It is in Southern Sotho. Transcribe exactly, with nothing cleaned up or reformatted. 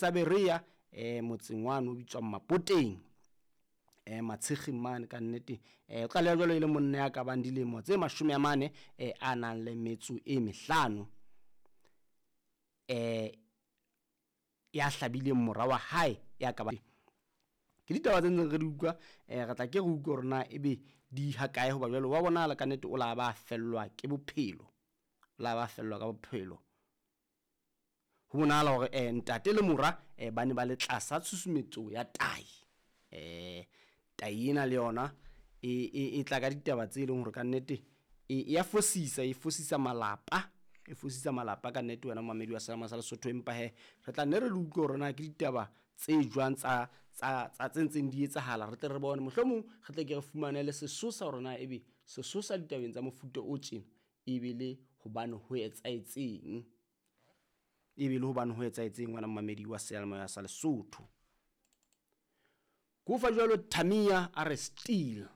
Sa Berea eh motseng wane o bitswang Mapoteng, eh Matshekgeng mane ka nnete. Eh o tlaleha jwalo e le monna ya ka bang dilemo tse mashome a mane eh a nang le metso e mehlano, eh ya hlabileng mora wa hae ya ka ba. Ke ditaba tse ntseng re di utlwa, eh re tla ke re utlwe hore na ebe di ha kae, hoba jwale wa bonahala ka nnete o la ba fellwa ke bophelo, o la ba fellwa ka bophelo. Ho bonahala hore eh ntate le mora eh ba ne ba le tlasa tshusumetso ya tai. Eh tai ena le yona e e e tla ka ditaba tse leng hore ka nnete e ya fosisa, e fosisa malapa, e fosisa malapa ka nnete wena momamedi wa Sealemoya sa Lesotho. Empa he re tla nne re le utlwe hore na ke ditaba tse jwang tsa tsa tsa tse ntseng di etsahala, re tle re bone mohlomong re tle ke re fumane le sesosa hore na ebe sesosa ditabeng tsa mofuta o tjena e be le hobane ho etsahetseng, e be le hobane ho etsahetseng wena momamedi wa Seyalemoya sa Lesotho. Ko fa jwalo Tamia a re still.